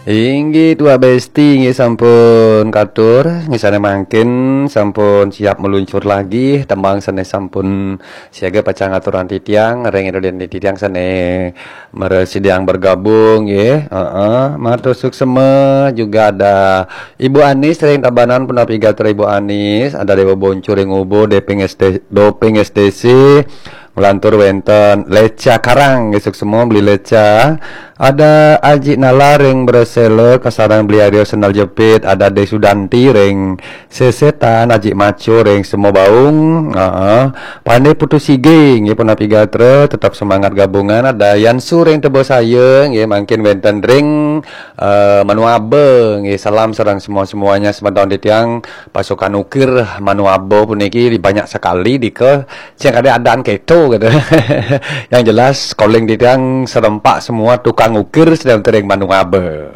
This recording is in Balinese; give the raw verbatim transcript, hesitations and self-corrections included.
Inggih, Tuak Besti, inggih sampun katur, nggih sané mangkin sampun siap meluncur lagi, tembang sané sampun siaga pacang aturang titiang, ring ida dané titiang sané mara sida bergabung, nggih. Heeh, matur suksema juga ada Ibu Anis ring Tabanan, punapi gatra Ibu Anis, ada Dewa Boncu ring Ubud, Doping S T, Doping S T C, nglantur wénten Leca Karang, nggih suksema Beli Leca. Ada Aji Nala ring Bresela, kasareng Beli Aryo Sendal Jepit, ada De Sudanti ring Sesetan, Aji Maco ring Sema Baung, heeh. Pandé Putu Sige, nggih punapi gatra, tetep semangat gabungan, ada Yansu ring Tebosaya, nggih mangkin wénten ring eh, Manuaba, nggih salam sareng semua-semuanya semeton titiang pasukan ukir Manuaba puniki banyak sekali dika sing kadé adaan kéto gitu. Yang jelas calling titiang serempak semua tukang ukir sedang tering Manuaba.